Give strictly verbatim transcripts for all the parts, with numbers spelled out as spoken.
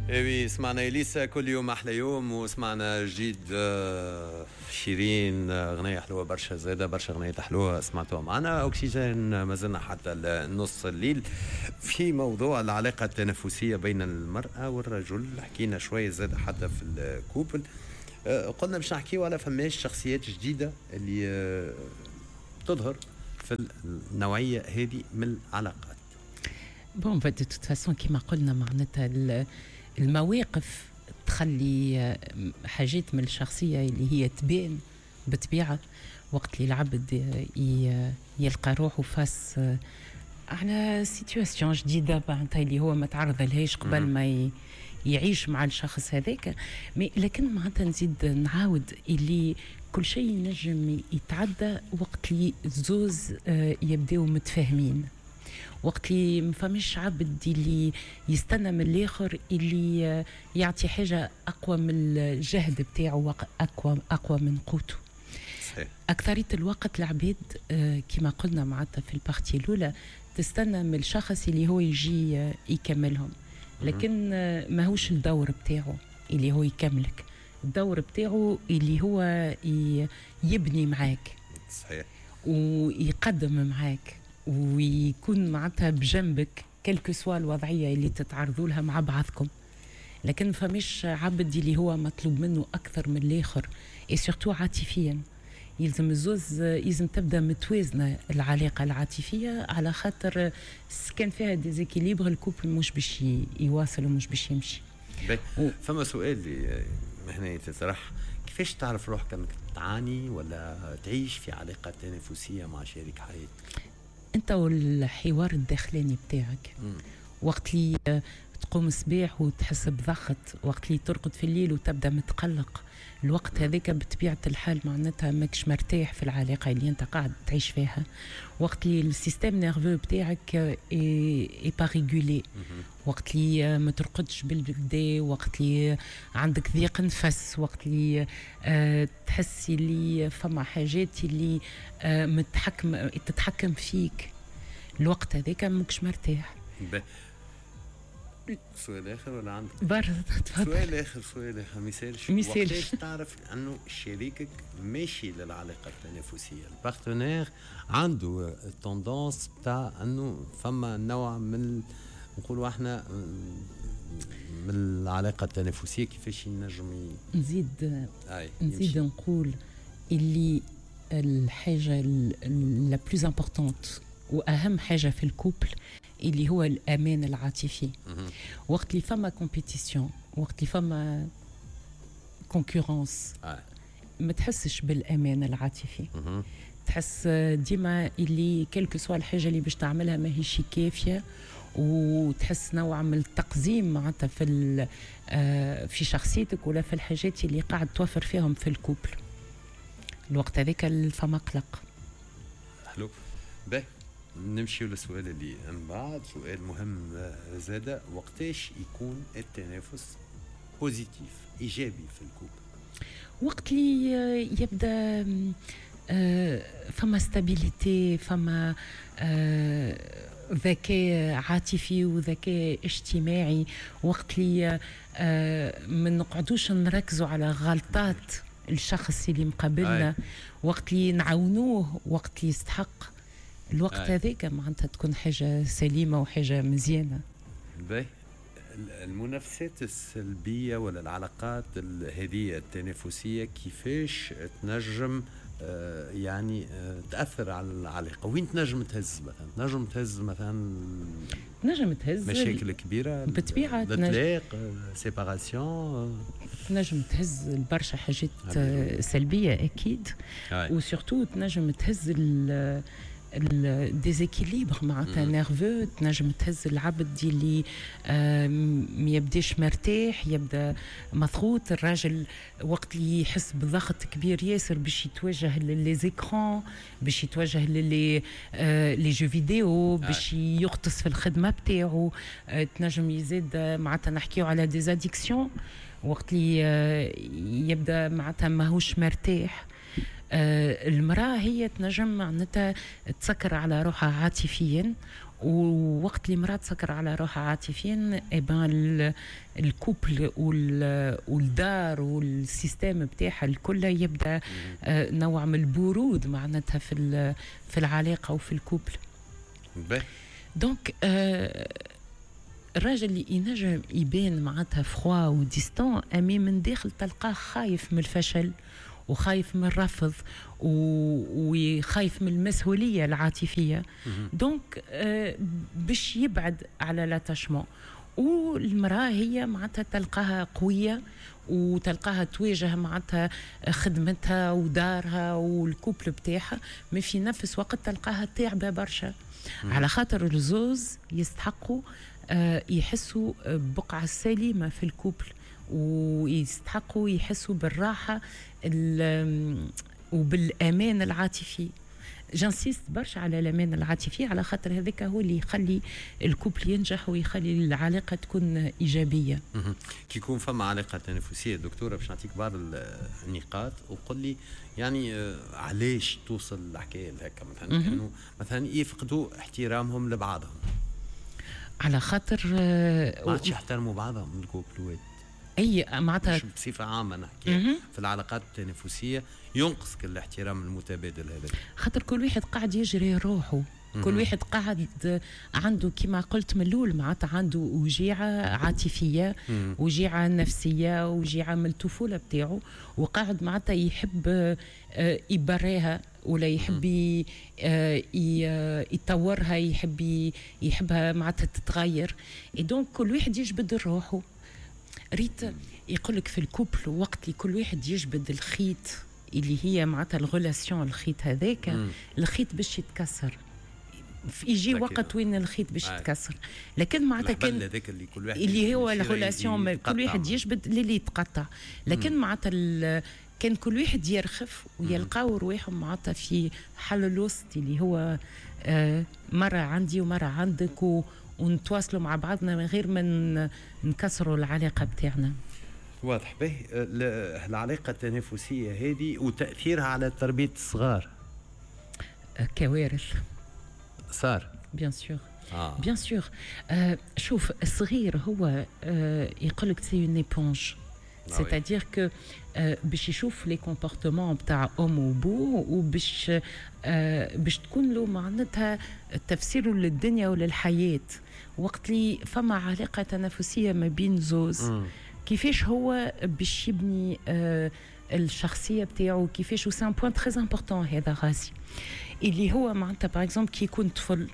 ايوي، سمعنا اليسا كل يوم احلى يوم، وسمعنا جديد آه، شيرين، آه، غنية حلوة برشا زاده، برشا غنية حلوة سمعتوها معنا. اكسجين ما زلنا حتى نص الليل في موضوع العلاقة التنافسية بين المراة والرجل. حكينا شوية زاده حتى في ال couple، آه، قلنا باش نحكيو على فماش شخصيات جديدة اللي تظهر في النوعية هذه من العلاقات. bon، de toute façon كيما قلنا معناتها المواقف تخلي حاجات من الشخصية اللي هي تبان بطبيعة وقت اللي العبد يلقى روحه face على situation جديدة معناتها اللي هو ما تعرض لهاش قبل ما يعيش مع الشخص هذاك. mais لكن معناتها نزيد نعاود اللي كل شيء ينجم يتعدى وقت اللي زوز آه، يبداو متفاهمين، وقت اللي ما فماش عبد اللي يستنى من الاخر اللي يعطي حاجة اقوى من الجهد بتاعه، اقوى اقوى من قوته. صحيح. اكثرية الوقت العباد آه، كما قلنا معناتها في ال partie الاولى تستنى من الشخص اللي هو يجي آه، يكملهم، لكن آه، ماهوش الدور بتاعه اللي هو يكملك، الدور بتاعه اللي هو يبني معاك. صحيح ويقدم معاك ويكون معناتها بجنبك quelle que soit الوضعية اللي تتعرضوا لها مع بعضكم. لكن فمش عبد اللي هو مطلوب منه اكثر من الاخر، et surtout عاطفيا يلزم الزوز يلزم تبدا متوازنة العلاقة العاطفيه، على خاطر كان فيها déséquilibre ال couple مش باش يواصل ومش باش يمشي. و... فما سؤال اللي هنا يتطرح: كيفاش تعرف روحك انك تعاني ولا تعيش في علاقة تنافسية مع شريك حياتك؟ انت والحوار الداخلاني بتاعك. وقت اللي تقوم الصباح وتحس بضغط، وقت اللي ترقد في الليل وتبدا متقلق، الوقت هذاك بطبيعة الحال معناتها ماكش مرتاح في العلاقة اللي انت قاعد تعيش فيها. وقت اللي ال système nerveux بتاعك est pas régulé، وقت اللي ما ترقدش بالقدا، وقت اللي عندك ضيق نفس، وقت اللي آه، تحسي اللي فما حاجات اللي آه، متحكم تتحكم فيك، الوقت هذاك ماكش مرتاح. سؤال اخر ولا عندك؟ برا تفضل. سؤال اخر، سؤال اخر، ما يسالش؟ ما يسالش. تعرف انه شريكك ماشي للعلاقة التنافسيه، ال partenaire عنده tendance بتاع انه فما نوع من نقولوا احنا من العلاقة التنافسيه، كيفاش ينجم؟ نزيد نزيد نقول اللي الحاجة la plus importante واهم حاجة في ال couple اللي هو الامان العاطفي. وقت اللي فما compétition، وقت اللي فما concurrence، ما تحسش بالامان العاطفي، تحس ديما اللي quelle que soit الحاجة اللي باش تعملها ماهيش كافيه، وتحس نوع من التقزيم معناتها في آه، في شخصيتك ولا في الحاجات اللي قاعد توفر فيهم في ال couple. الوقت هذاك فما قلق. حلو، باهي، نمشي للسؤال اللي من بعد، سؤال مهم زادة: وقتاش يكون التنافس positif، ايجابي في ال couple؟ وقت اللي يبدا آه، فما stabilité، فما آه، ذكاء عاطفي وذكاء اجتماعي، وقت اللي آه، ما نقعدوش نركزوا على غلطات الشخص اللي مقابلنا، وقت اللي نعاونوه وقت اللي يستحق، الوقت هذاك معناتها تكون حاجة سليمة وحاجه مزيانه. باهي، المنافسات السلبية ولا العلاقات هذه التنافسية كيفاش تنجم آه، يعني آه، تاثر على العلاقه؟ وين تنجم تهز مثلا؟ تنجم تهز مثلا تنجم تهز مشاكل كبيره؟ بالطبيعه. الطلاق، séparation. تنجم تهز برشا حاجات سلبية اكيد، و surtout تنجم تهز ال déséquilibre معناتها nerveux، تنجم تهز العبد اللي ما يبداش مرتاح، يبدا مضغوط. الراجل وقت اللي يحس بضغط كبير ياسر باش يتوجه les écrans، باش يتوجه les les jeux vidéo، باش يغطس في الخدمة بتاعه. تنجم يزيد معناتها نحكيو على des addictions وقت اللي يبدا معناتها ماهوش مرتاح. آه، المرأة هي تنجم معناتها تسكر على روحها عاطفيا. ووقت اللي مرأة تسكر على روحها عاطفيا، eh ben ال couple والدار وال système بتاعها الكل يبدا آه، نوع من البرود معناتها في في العلاقة وفي ال couple. donc آه الراجل اللي ينجم يبان معناتها froid و distant، أما من داخل تلقاه خايف من الفشل وخايف من الرفض وخايف من المسؤولية العاطفيه، donc آه باش يبعد على l'attachement. والمراة هي معناتها تلقاها قوية وتلقاها تواجه معناتها خدمتها ودارها وال couple بتاعها، ما في نفس وقت تلقاها تعبه برشا، على خاطر الزوز يستحقوا آه، يحسوا بقعة سليمة في ال couple ويستحقوا يحسوا بالراحة وبالأمان العاطفي. j'insiste برشا على الامان العاطفي، على خاطر هذاك هو اللي يخلي ال couple ينجح ويخلي العلاقة تكون ايجابيه. كي يكون فما علاقة تنافسية دكتوره، باش نعطيك بعض النقاط وقل لي يعني آه، علاش توصل الحكاية هكا. مثلا انه مثلا يفقدوا احترامهم لبعضهم. على خاطر آه، ما عادش يحترموا بعضهم ال couple وات. اي معناتها بصفة عامة نحكي في العلاقات التنافسيه، ينقص كل الاحترام المتبادل هذا. خاطر كل واحد قاعد يجري روحه، كل واحد قاعد عنده كما قلت من الاول معناتها عنده وجيعه عاطفيه، وجيعه نفسيه، وجيعه من الطفولة بتاعه، وقاعد معناتها يحب آه، يبريها ولا يحب آه، يطورها، يحب يحبها معناتها تتغير. donc كل واحد يجبد روحه. ريت، يقول لك في ال couple وقت اللي كل واحد يجبد الخيط اللي هي معناتها ال relation، الخيط هذاك الخيط باش يتكسر، يجي وقت وين الخيط باش يتكسر. لكن معناتها كان هذاك اللي كل واحد اللي هو ال relation، كل واحد يجبد اللي يتقطع. لكن معناتها كان كل واحد يرخف ويلقاو رواحهم معناتها في حل الوسط اللي هو آه، مرة عندي ومرة عندك و ونتواصلوا مع بعضنا من غير ما نكسروا العلاقة بتاعنا. واضح. به، العلاقة التنافسية هذه وتأثيرها على تربية الصغار؟ كوارث. صار. bien sûr، bien sûr. شوف، الصغير هو آه يقول لك c'est une éponge، c'est-à-dire que باش يشوف les comportements بتاع ام وبو وباش آه باش تكون له معناتها تفسيره للدنيا وللحياه. وقت اللي فما علاقة تنافسية ما بين زوز، كيفاش هو باش يبني آه الشخصية بتاعه؟ كيفاش؟ c'est un point très important هذا غازي، اللي هو معناتها par exemple كي يكون طفل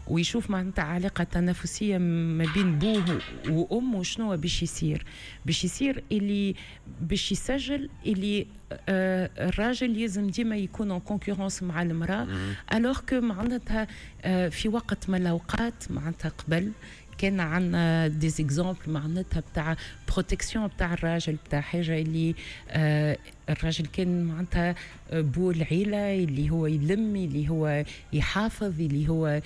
ويشوف معناتها علاقة تنافسية ما بين بوه وأمه، شنو باش يصير؟ باش يصير اللي باش يسجل اللي آه الراجل لازم ديما يكون en concurrence مع المرأة، alors que معناتها آه في وقت من الأوقات معناتها قبل كان عندنا des exemples معناتها بتاع protection بتاع الراجل، بتاع حاجة اللي آه الراجل كان معناتها بو العيله، اللي هو يلم، اللي هو يحافظ، اللي هو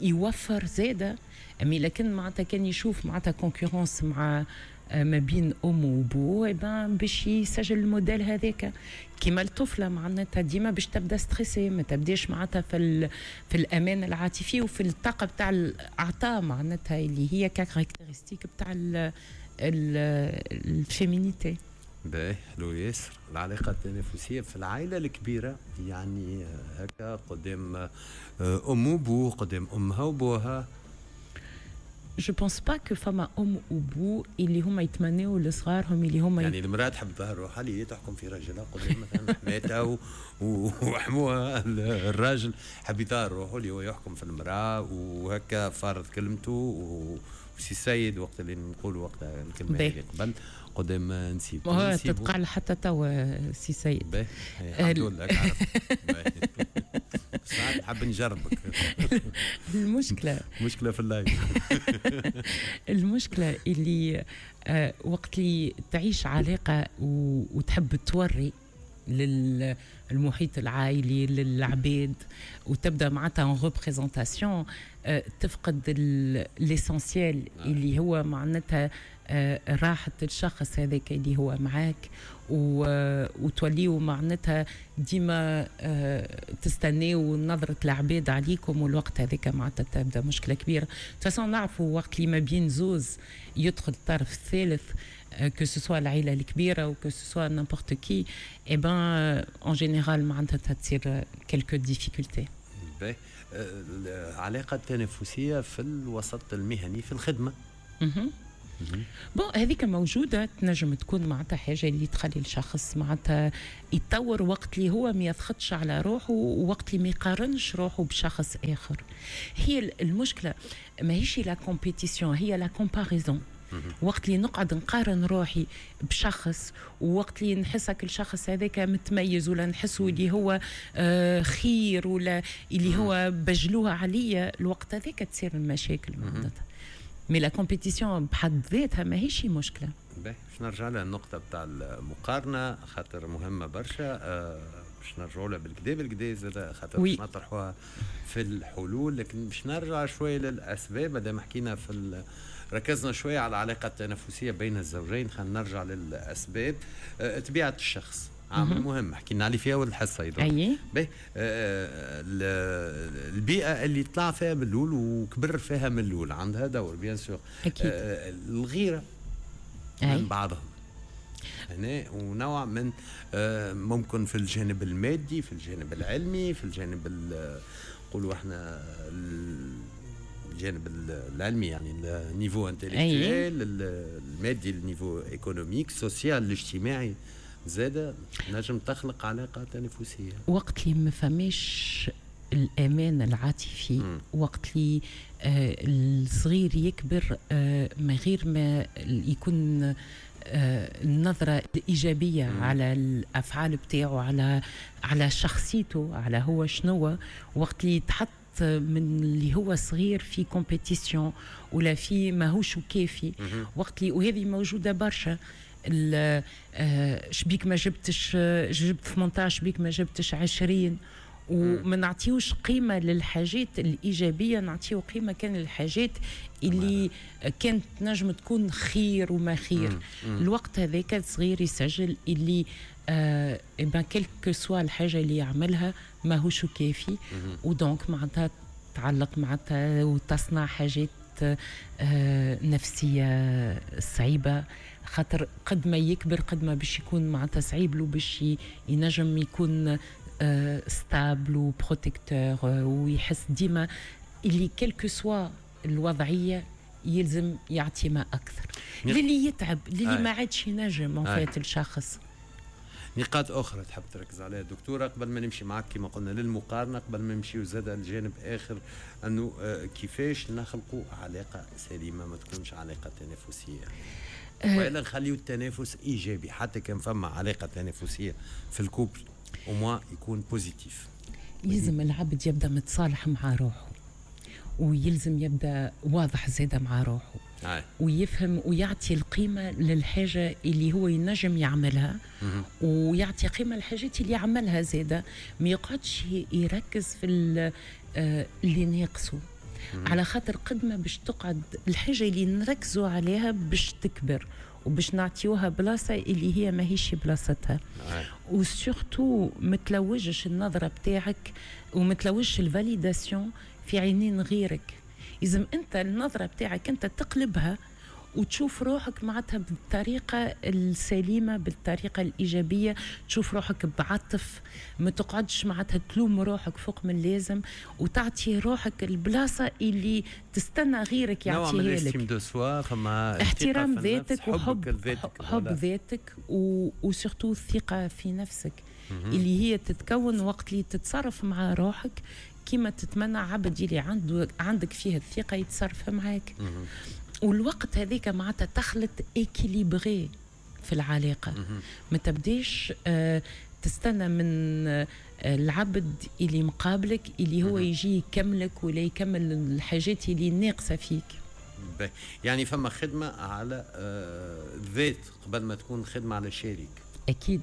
يوفر زاده. mais لكن معناتها كان يشوف معناتها concurrence مع آه، ما بين ام وبو، باش يسجل الموديل هذاك. كيما الطفلة معناتها ديما باش تبدا stressée، ما تبداش معناتها في في الامان العاطفي وفي الطاقة بتاع العطاء معناتها اللي هي caractéristique بتاع ال féminité. باهي، حلو ياسر. العلاقة التنافسية في العائلة الكبيرة، يعني هكا قدام آه، أم وبوه، قدام أمها وبوها. je pense pas que فما ام وبو اللي هما يتمناو لصغارهم اللي هما يعني المراة تحب تظهر روحها اللي هي تحكم في راجلها قدام مثلا حماتها وحموها. الراجل حب يظهر روحه اللي هو يحكم في المراة وهكا فارض كلمته وسي السيد، وقت اللي نقولوا وقتها الكلمة اللي قبل قدام نسيب. تتقال حتى توا سي سيد. الحمد لله، ساعات نحب نجربك. المشكله مشكلة في ال live. المشكلة اللي آه، وقت اللي تعيش علاقة وتحب توري للمحيط العائلي، للعباد، وتبدا معناتها en représentation. آه، تفقد l'essentiel اللي هو معناتها آه، راحة الشخص هذاك اللي هو معاك، وتوليو معناتها ديما آه، تستناو نظرة العباد عليكم، والوقت هذاك معناتها تبدا مشكلة كبيرة. de toute façon نعرفوا وقت اللي ما بين زوز يدخل الطرف الثالث، que ce soit العائلة الكبيرة ou que ce soit n'importe qui، eh ben en général معناتها تصير quelques difficultés. العلاقة التنافسية في الوسط المهني، في الخدمة. bon، هذيك موجوده، تنجم تكون معناتها حاجة اللي تخلي الشخص معناتها يتطور وقت اللي هو ما يضغطش على روحه ووقت اللي ما يقارنش روحه بشخص اخر. هي المشكلة ماهيش la compétition، هي la comparaison. وقت اللي نقعد نقارن روحي بشخص، ووقت اللي نحس الشخص هذاك متميز ولا نحسه اللي هو آه، خير ولا اللي هو بجلوها عليا، الوقت هذاك تصير المشاكل معناتها. mais la compétition بحد ذاتها ماهيش مشكله. باهي، باش نرجع لها النقطة بتاع المقارنة خاطر مهمة برشا، آه، باش نرجعوا لها بالكدا بالكدا زاد خاطر باش نطرحوها في الحلول، لكن باش نرجع شوية للاسباب. مادام حكينا في ال... ركزنا شوية على العلاقة التنافسية بين الزوجين، خلينا نرجع للاسباب. آه، طبيعة الشخص عامل مهم، حكينا عليه في اول الحصة ايضا. اي. باهي، آه، البيئة اللي طلع فيها من الاول وكبر فيها من الاول عندها دور bien sûr. اكيد. آه، الغيرة من بعضهم هنا، ونوع من آه، ممكن في الجانب المادي، في الجانب العلمي، في الجانب نقولوا احنا الجانب العلمي، يعني ال niveau intellectuel، المادي، ال niveau économique، social، الاجتماعي زاد نجم تخلق علاقة تنافسيه. وقت اللي ما فماش الامان العاطفي، وقت اللي آه الصغير يكبر آه من غير ما يكون آه النظرة الإيجابية مم. على الأفعال بتاعه، على على شخصيته، على هو شنو، وقت اللي يتحط من اللي هو صغير في compétition ولا في ماهوش كافي، وقت اللي وهذه موجودة برشا، آه، شبيك ما جبتش، جبت ثمنطاش، شبيك ما جبتش عشرين، وما نعطيوش قيمة للحاجات الايجابيه، نعطيو قيمة كان للحاجات اللي كانت نجم تكون خير وما خير. الوقت هذاك الصغير يسجل اللي آه ben quelle que soit الحاجة اللي يعملها ماهوش كافي، و donc معناتها تعلق معناتها وتصنع حاجات آه نفسية صعيبه، خاطر قد ما يكبر قد ما باش يكون معناتها صعيب له باش ينجم يكون stable و protecteur، ويحس ديما اللي quelle que soit الوضعية يلزم يعطي ما اكثر، للي يتعب، للي ما عادش ينجم en fait الشخص. نقاط اخرى تحب تركز عليها دكتورة قبل ما نمشي معك كما قلنا للمقارنه، قبل ما نمشي زاد الجانب اخر انه آه، كيفاش نخلقوا علاقة سليمة ما تكونش علاقة تنافسيه، أه والا نخليو التنافس ايجابي، حتى كان فما علاقة تنافسية في ال couple au moins يكون positif؟ يلزم العبد يبدا متصالح مع روحه، ويلزم يبدا واضح زاده مع روحه آه. ويفهم ويعطي القيمة للحاجة اللي هو ينجم يعملها، ويعطي قيمة للحاجات اللي يعملها زاده، ما يقعدش يركز في آه، اللي ناقصه، على خاطر قد ما باش تقعد الحاجة اللي نركزوا عليها باش تكبر وباش نعطيوها بلاصة اللي هي ماهيش بلاصتها. و surtout ما تلوجش النظرة بتاعك وما تلوجش ال validation في عينين غيرك. لازم انت النظرة بتاعك انت تقلبها وتشوف روحك معناتها بالطريقة السليمة، بالطريقة الإيجابية، تشوف روحك بعطف، ما تقعدش معناتها تلوم روحك فوق من اللازم، وتعطي روحك البلاصة اللي تستنى غيرك يعطيها لك. نوع من de soi، فما احترام ذاتك وحب ذاتك، حب ذاتك و surtout الثقة في نفسك اللي هي تتكون وقت اللي تتصرف مع روحك كما تتمنى عبد اللي عنده عندك فيه الثقة يتصرف معاك. والوقت هذيك معناتها تخلط équilibré في العلاقه، ما تبديش آه تستنى من آه العبد اللي مقابلك اللي هو يجي يكملك ولا يكمل الحاجات اللي ناقصه فيك. يعني فما خدمة على آه الذات قبل ما تكون خدمة على الشريك. اكيد،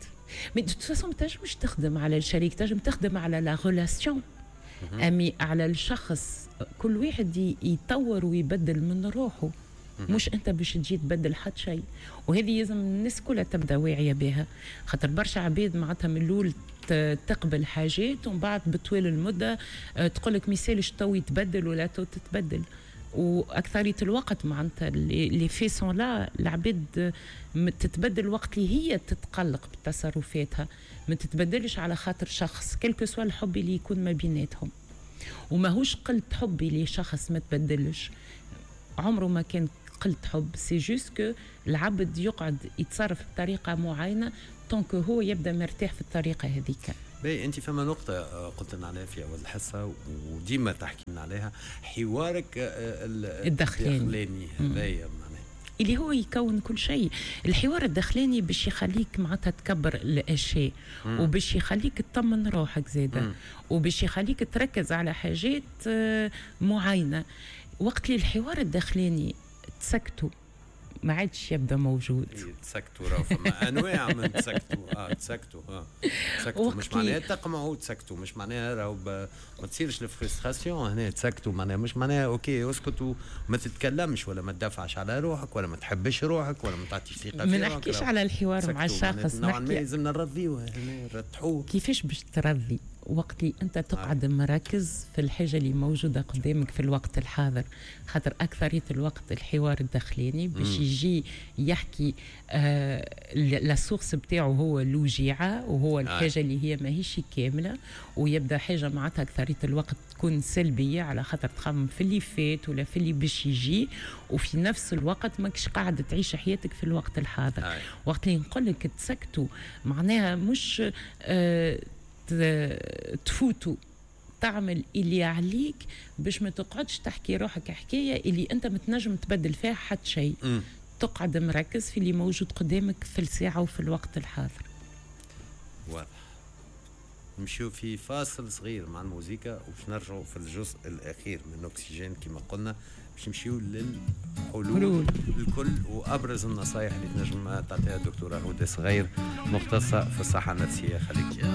mais de toute façon ما تنجمش تخدم على الشريك، تنجم تخدم على la relation. أمي على الشخص كل واحد يطور ويبدل من روحه، مش انت باش تجي تبدل حد شيء. وهذه لازم الناس كلها تبدا واعية بها، خاطر برشا عباد معناتها من الاول تقبل حاجات ومن بعد بطوال المدة آه، تقول لك ميسالش تو يتبدل ولا تو تتبدل. واكثريه الوقت معناتها les faits sont là، العباد تتبدل وقت اللي هي تتقلق بتصرفاتها، ما تتبدلش على خاطر شخص quel que soit الحب اللي يكون ما بيناتهم. وماهوش قلة حبي لشخص ما تبدلش، عمره ما كان قلة حب، c'est juste que العبد يقعد يتصرف بطريقة معينة tant que هو يبدا مرتاح في الطريقة هذيك. باهي، انت فما نقطة آه، قلت لنا عليها في أول الحصة وديما تحكي لنا عليها، حوارك آه، الداخلاني. الداخلاني هذايا معناها اللي هو يكون كل شيء. الحوار الداخلاني باش يخليك معناتها تكبر الاشياء، وباش يخليك تطمن روحك زاده، وباش يخليك تركز على حاجات آه، معينه. وقت اللي الحوار الداخلاني تسكتوا ما عادش يبدا موجود. إيه، تسكتوا، راه فما انواع من تسكتوا. اه تسكتوا، اه تسكتوا مش معناها تقمعوا، تسكتوا مش معناها راهو ما تصيرش ال frustration هنا. تسكتوا معناها مش معناها OK اسكتوا ما تتكلمش ولا ما تدافعش على روحك ولا ما تحبش روحك ولا ما تعطيش ثقة. ما نحكيش على الحوار مع الشخص. نوعا ما لازمنا نرضيوه، نرتحوه. كيفاش باش ترضي وقت اللي انت تقعد مركز في الحاجة اللي موجودة قدامك في الوقت الحاضر؟ خاطر اكثرية الوقت الحوار الداخلاني باش يجي يحكي آه la source بتاعه هو الوجيعه وهو الحاجة اللي هي ماهيش كامله، ويبدا حاجة معناتها اكثرية الوقت تكون سلبيه، على خاطر تخمم في اللي فات ولا في اللي باش يجي، وفي نفس الوقت ماكش قاعد تعيش حياتك في الوقت الحاضر. آه. وقت اللي نقول لك تسكتوا معناها مش آه تفوتوا، تعمل اللي عليك باش ما تقعدش تحكي روحك حكاية اللي انت متنجم تبدل فيها حتى شيء. تقعد مركز في اللي موجود قدامك في الساعة وفي الوقت الحاضر. واضح. نمشيو في فاصل صغير مع الموسيقى وباش نرجعوا في الجزء الاخير من اكسجين كما قلنا، باش نمشيو للحلول الكل وابرز النصائح اللي تنجم تعطيها الدكتورة هدى صغير، مختصة في الصحة النفسيه. خليك.